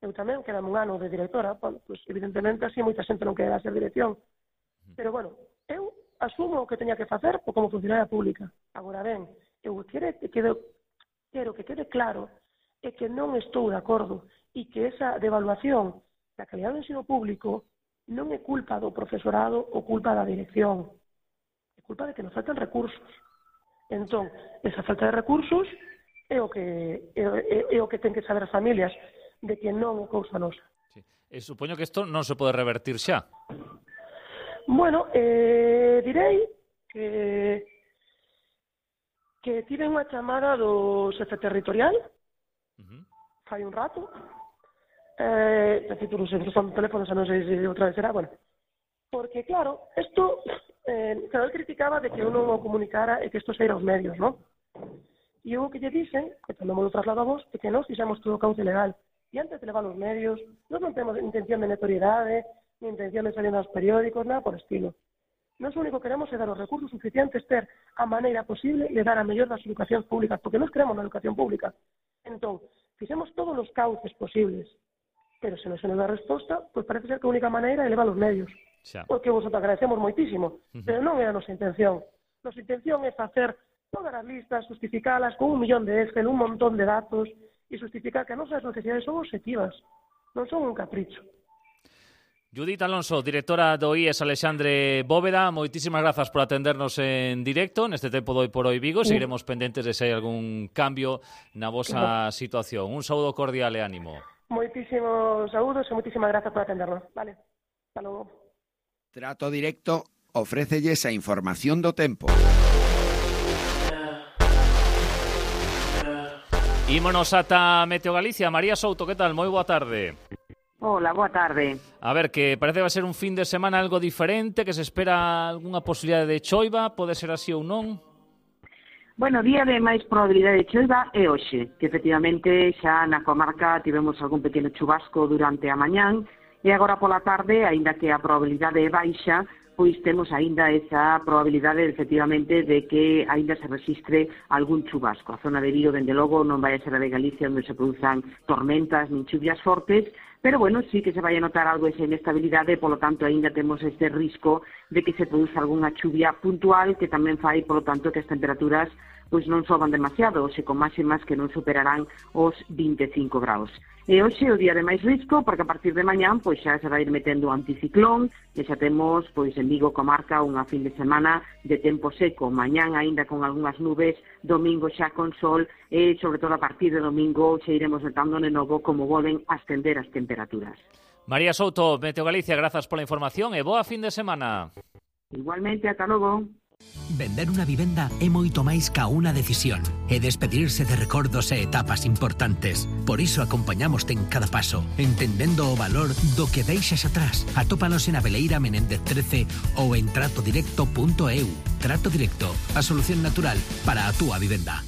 Eu tamén quedame un ano de directora, bueno, pues, evidentemente así moita xente non quererá ser dirección. Pero, bueno, eu asumo o que teña que facer como funcionaria pública. Agora ben, eu quero que quede claro é que non estou de acordo e que esa devaluación da calidad do ensino público non é culpa do profesorado ou culpa da dirección. É culpa de que nos faltan recursos. Entón, esa falta de recursos é o que ten que saber as familias, de que non é cousa nosa. Sí. Supoño que isto non se pode revertir xa. Bueno, direi que tive unha chamada do xefe territorial fai un rato, non sei, son teléfonos, non sei se outra vez será, bueno, porque claro, isto, claro, él criticaba de que uno non o comunicara e que isto se ira aos medios, non? E eu que lle dixen, que tamén me lo traslado a vos, é que nós fixemos todo o cauce legal. E antes de levar os medios, nós non temos intención de notoriedade, ni intención de salir nos periódicos, nada por estilo. Nós o único que queremos é dar os recursos suficientes, ter a maneira posible e dar a mellor das educacións públicas, porque nós queremos na educación pública. Entón, fixemos todos os cauces posibles, pero se non se nos dá resposta, pois parece ser que a única maneira é levar os medios. Xa. Porque vos agradecemos moitísimo, pero non é a nosa intención. Nosa intención é facer todas as listas, justificalas con 1 millón de Excel, un montón de datos, e justificar que as nosas necesidades son objetivas, non son un capricho. Judith Alonso, directora do IES Alexandre Bóveda, moitísimas grazas por atendernos en directo neste tempo do Hoy por Hoy Vigo. Seguiremos pendentes de se hai algún cambio na vosa situación. Un saúdo cordial e ánimo. Moitísimos saúdos e moitísimas grazas por atendernos. Vale, hasta logo. Trato Directo ofrécelles a información do tempo. Ímonos ata Meteo Galicia. María Souto, que tal? Moi boa tarde. Hola, boa tarde. A ver, que parece que vai ser un fin de semana algo diferente, que se espera algunha posibilidade de choiva, pode ser así ou non? Bueno, día de máis probabilidade de choiva é hoxe, que efectivamente xa na comarca tivemos algún pequeno chubasco durante a mañán, e agora pola tarde, aínda que a probabilidade é baixa, pois temos aínda esa probabilidade, efectivamente, de que aínda se resistre algún chubasco. A zona de Vigo, dende logo, non vai a ser a de Galicia onde se produzan tormentas nin chuvias fortes, pero, bueno, sí que se vai a notar algo esa inestabilidade, polo tanto, aínda temos este risco de que se produza algunha chuvia puntual que tamén fai, polo tanto, que as temperaturas pois non soban demasiado, se con máximas que non superarán os 25 graus. E hoxe o día de máis risco, porque a partir de mañán pois xa se vai ir metendo o anticiclón, e xa temos pois en Vigo comarca unha fin de semana de tempo seco, mañán aínda con algunhas nubes, domingo xa con sol, e sobre todo a partir de domingo xa iremos notando de novo como volven a ascender as temperaturas. María Souto, Meteo Galicia, grazas pola información e boa fin de semana. Igualmente, ata logo. Vender unha vivenda é moito máis ca unha decisión e despedirse de recordos e etapas importantes. Por iso acompañamoste en cada paso, entendendo o valor do que deixas atrás. Atópanos en Abeleira Menéndez 13 ou en tratodirecto.eu. Trato Directo, a solución natural para a túa vivenda.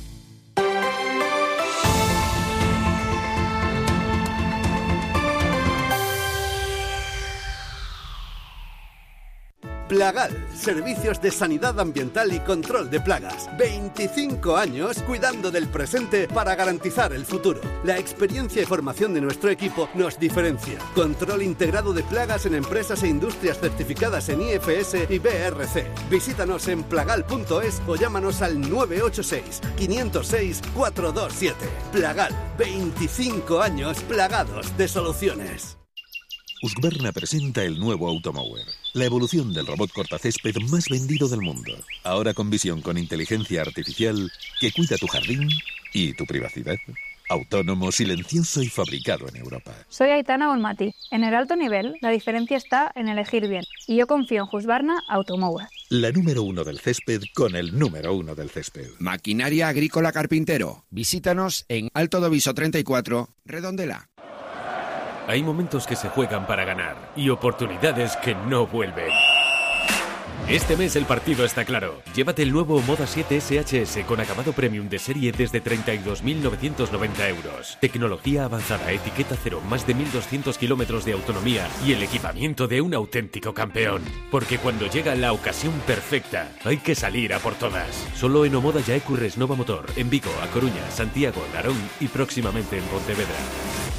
Plagal, servicios de sanidad ambiental y control de plagas. 25 años cuidando del presente para garantizar el futuro. La experiencia y formación de nuestro equipo nos diferencia. Control integrado de plagas en empresas e industrias certificadas en IFS y BRC. Visítanos en plagal.es o llámanos al 986 506 427. Plagal, 25 años plagados de soluciones. Husqvarna presenta el nuevo Automower, la evolución del robot cortacésped más vendido del mundo. Ahora con visión con inteligencia artificial que cuida tu jardín y tu privacidad. Autónomo, silencioso y fabricado en Europa. Soy Aitana Bonmati. En el alto nivel, la diferencia está en elegir bien. Y yo confío en Husqvarna Automower. La número 1 del césped con el número 1 del césped. Maquinaria Agrícola Carpintero. Visítanos en Alto do Viso 34, Redondela. Hay momentos que se juegan para ganar y oportunidades que no vuelven. Este mes el partido está claro. Llévate el nuevo Moda 7 SHS con acabado premium de serie desde 32.990 euros. Tecnología avanzada, etiqueta cero, más de 1.200 kilómetros de autonomía y el equipamiento de un auténtico campeón. Porque cuando llega la ocasión perfecta, hay que salir a por todas. Solo en Omoda Yaecu Resnova Motor, en Vigo, A Coruña, Santiago, Narón y próximamente en Pontevedra.